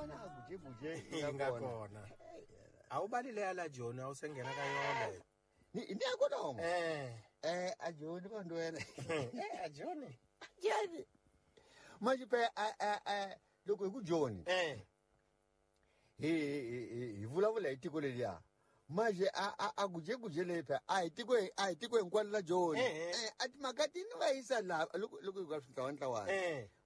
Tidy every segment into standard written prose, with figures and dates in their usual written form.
vona gujeguje yi nga kona a wu bali leya la joni a wu se nghena ka yona ni ni ya kona homo eh a joni vanhu wena a joni joni manje pe a loko hi ku joni hi vulavula hi tiko leriya manje a gujeguje leyi phe a hi tiko a hi tiko hinkwalo la joni a timhaka ti ni va yisa laha loko hi ka swintlawantlawana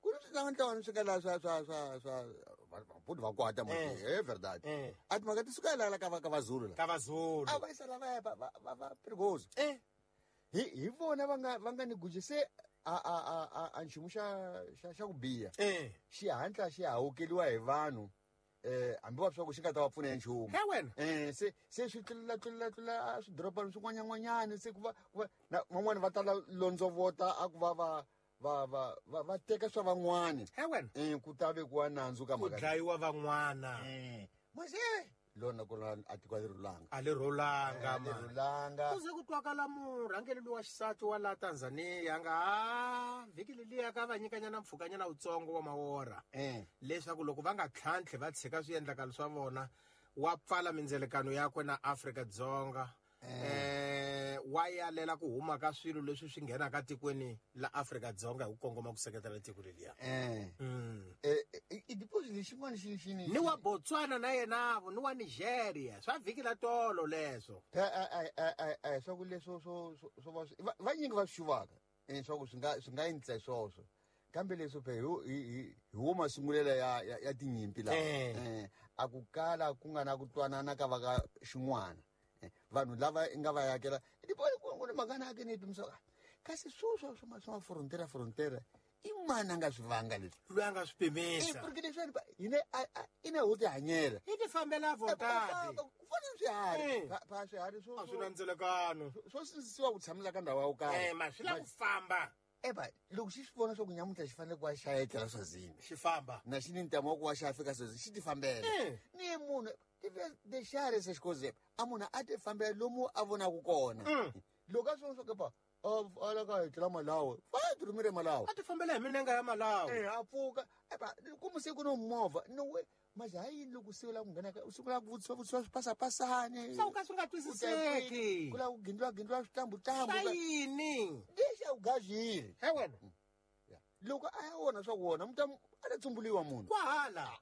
ku ri swintlawantlawana swi nga laha swa vabuti va kwata manje e verdade a timhaka ti suka laha ka vazulu la ka vazulu a va yisa lavaya va perigoso hi vona va nga ni guje se a nchumu xa ku biha xihatla xi hawukeliwa hi vanhu hambi va swa ku xi nga ta va pfuna ya nchumu he wena se swi tlula swidorobana swin'wanyan'wanyana se ku va na van'wani va tala londzovota a ku va teka swa van'wani he wena ku ta vekiwa nandzu ka mhaka ku dlayiwa van'wana mase lona kona a tiko a ri rhulanga a ri rhulanga a ri rhulanga ku ze ku twakala murhangeri lowa xisati wa la Tanzania nga vhiki leliya ka va nyikanyana mpfhukanyana wutsongo wa mawora leswaku loko va nga tlhantlhi va tshika swiendlakalo swa vona wa pfala mindzelekano yakwe na Afrika-Dzonga wa yalela ku huma ka swilo leswi swi nghenaka tikweni la Afrika-Dzonga hi ku kongoma ku seketela tiko leliya i deposit lexin'wana xi ni wa Botswana na yenavo ni wa Nigeria swa vhiki la tolo leswo swa ku leswo swo va vanyingi va swi xuvaka swa ku swi nga endlisa swoswo kambe leswo phe hi wo masungulela ya tinyimpi laha a ku kala ku nga na ku twanana ka va ka xin'wana vanhu lava nga va yakela ku ni mhaka na ake ni pimisa kasi swoswo swa frontera i mani a nga swi vanga leswi loyi a nga swi pimisa porque leswiwani hina ina ho tihanyela hi ti fambela vontati ku fana ni swiharhi pa swiharhi swo a swi na ndzelekano swo sindzisiwa ku tshamela ka ndhawu ya ku karhi ma swi lava ku famba eba loko xi swi vona swa ku nyamuntlha xi fanele ku va xa etlela Swazini xi famba na xi ni ntamu wa ku va xa fika Swazini xi ti fambela ni munhu xiharhi se xikozepa a munhu a ti fambela lomu a vonaka kona loko a swi vona swa ku pa a ka etlela Malawi va tirhumile Malawi a ti fambela hi minenga ya Malawi a pfuka eba kumu se ku no movha no we manje ha yini loko u la ku nghena u sungula ku vutisiwa swipasapasani swa ku ka swi nga twisiseki ku lava ku gindliwa switambutsambu swa yini lexi a ku gazile he wena loko a ya wona swa ku wona muta a ta tsumbuliwa munhu kwahala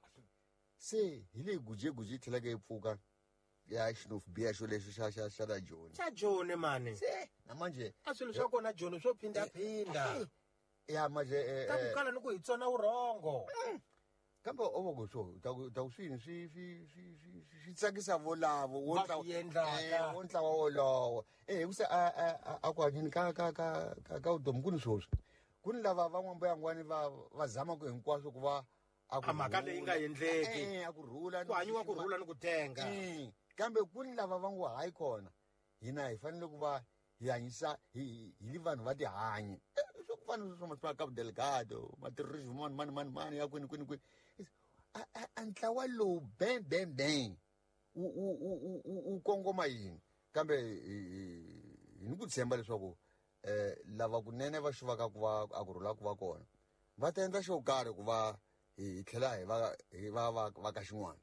se hi leyi gujeguje yi tlhelaka yi pfuka ya xinofu biha xo lexo xa la joni xa joni mani se na manje a swilo swa kona joni swo phindaphinda ya manje ta ku kala ni ku hi tsona vurhongo kambe o va ku swo ta ku swini swi tsakisa volavo wo ntlawa wolowo hi ku se a ku hanyeni ka vutomi ku ni swoswi ku ni lava van'wambuyangwani va zamaka hinkwaswo ku va a mhaka leyi nga endleki a ku rhula ku hanyiwa ku rhula ni ku tenga kambe ku ni lava va ngo hayi kona hina hi fanele ku va hi hanyisa hi li vanhu va tihanyi swo ku fana swa masipala Cabo Delgado materrorism mani ya kwini kwini kwini a ntlawa lowu bang bang bang wu kongoma yini kambe hi ni ku tshemba leswaku lava kunene va xuvaka ku va a ku rhula ku va kona va ta endla xo karhi ku va hi tlhela hi va ka xin'wana.